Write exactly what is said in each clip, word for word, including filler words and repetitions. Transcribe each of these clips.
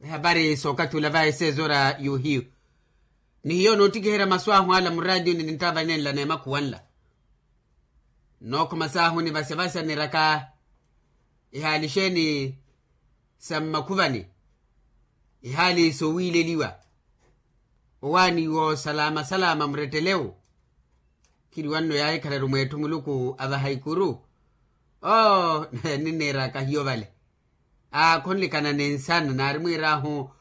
Ehapari sookathi ula va esezo ora yohiyu. Ni hiyo noottikiherya masu ahu ala muraatiyuni ninttaava nenla neemakhuwanla. Nookhuma saahu nivasyavasya niraka ihaali exeeni sa mmakhuvani, ihaali sowiileliwa. Owaani woosalama salama murettelewu. Khiriwanno yaahikhala-ru mweetthu muluku avaha ikuru. Oo ninniiraka hiyo vale. Aa khonlikana ni nsana naari mwiir'ahu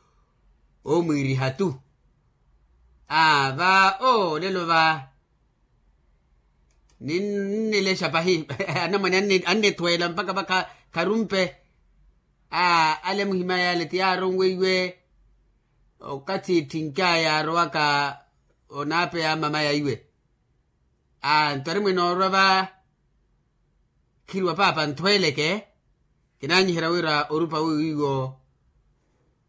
oomwiiriha-tu. Aa va olelo va ninnilexa pahi. Anamwane annitweela mpakha va kharumpe. Aa ale muhimaya ale ti yaaronweiwe okathi etthinkaya yaarowaka onaapeya mmamaya iwe. Aa nto ari mwinoorwa va khiriwa paapa nthweeleke. Kinaanyiherya wira orupa wiiwo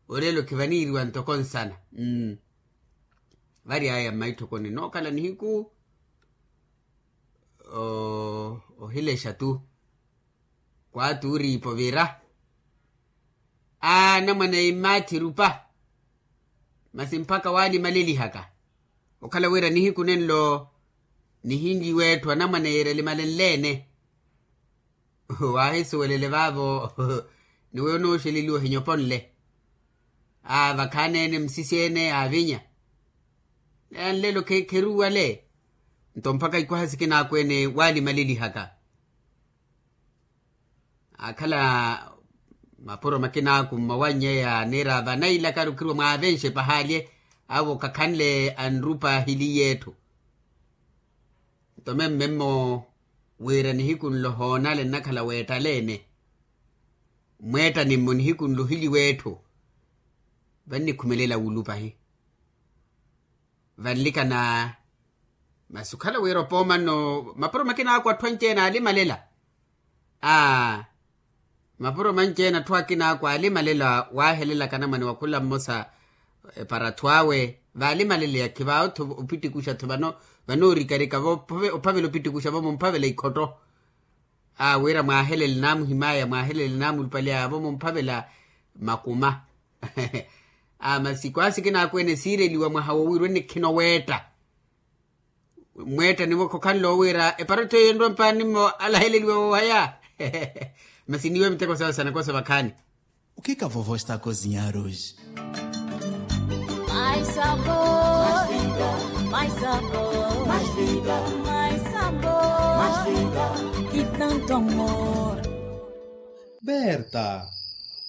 olelo khivaniiriwa ntoko nsana. Vari aya mmaitthokoni nookhala nihiku ohilexa-tu. Kwaati uriipa ovira anamwane immaathi rupa. Masi mpakha waalimalelihaka okhala wira nihiku nenlo nihinliwa etthu anamwane yeerya limalenle-ene. Waahisuwelele vaavo ni weyo onooxeleliwa ohinyoponle. Aavakhaana-ene msisi-ene aavinya. Neya nlelo kheruwale. Nto mpakha ikwaha sikinaakhu-ene waalimalelihaka. Akhala mapuro makinaakhu mmawannyeya niira vanailakaru khiriwa mwaavenxe pahaali. Awo khakhanle anrupa ahiliye etthu. Nto memmemmo wira nihiku nlo hoonale nnakhala weettaleene. Mweettanimmo nihiku nlo ohiliwe etthu. Vannikhumelela wulu pahi. Vanlikana masi okhala wira opoomanno mapuro makinaakhu atthu anci-ene aalimalela. Aa mapuro manci-ene atthu akinaakhu aalimalela waahelelaka anamwane wa khula mmosa. Epara atthu awe vaalimaleleya khivaawo-tho opittikuxa-tho vanoorikarika ophavela opittikuxa vomumphavela ikhotto. Aa wira mwaahelele naamuhimaya mwaahelele naamulupaleya vomumphavela makuma. Aa masi kwaasi kinaakhu-ene siireliwa mwaha wowiirwa ennikhina oweetta. Mweetta niwo khokhanle owiira eparatho eyo enrwa mpaani mmo alaheleliwa woohaya. Masi niiwe miteko sawe sanakosa vakhaani. Okhika vovo estakozinyaruji. Berta,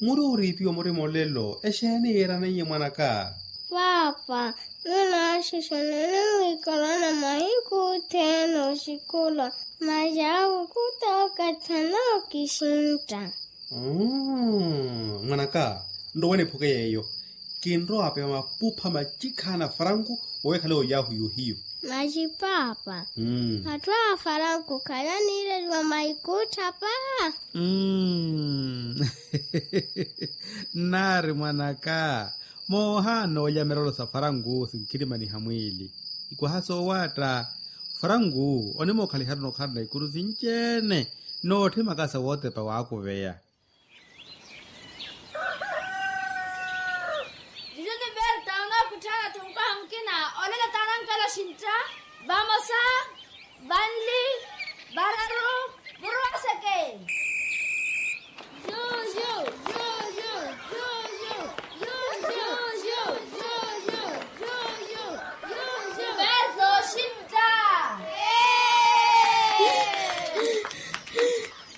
muri oriipiwa murima olelo exeeni yiiraneiye mwanaka? Paapa, nunaaxixana nimwiikarana mahiku othene oxikula. Masi awo khutookathana okixintta. Mwanaka, nrowe niphuke yeeyo. Kinrowa apeya mapupha macikhaana faranku oweekhale oyahu yohiyu. Masi paapa, atthu a faranku khalaniireliwa maikutthapa. Nnaari mwanaka, moohaana oolya mirelo sa faranku sinkhirimaniha mwiili. Ikwaha soowaatta faranku onimookhalihana okhalana ikuru sinci-ene. Nootthimaka sa wootepa waakuveya. Juju ni berta onookutthaana-tho mukwaha mukina. Olelo taanankela oxintta. Vamosa, vanli, vararu, vurwaseke. Berta oxintta.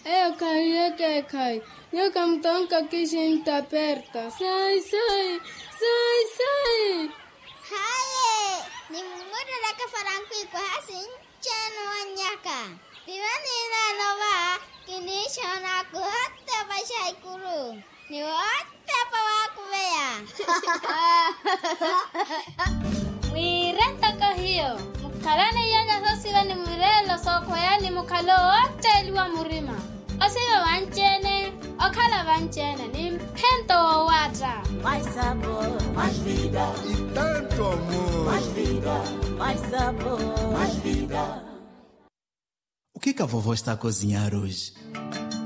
Eyo khahiye ekeekhayi. Nyuwo khamutonka oxintta berta. Sayi sayi, sayi sayi. Haye, nimumurelaka faranku ikwaha sinci-ene owannyaka. Tino niineene ova kiniixoona kuhotta opaxa ikuru. Ni wootepa waakuveya. Mwiire ntoko hiyo, mukhalane iyanya soosiva ni mwireelo sookhweyani mukhale owootteeliwa murima. Osiva vanci-ene, okhala vanci-ene ni mphento woowaatta. Okhika vovo estakozinyaruji.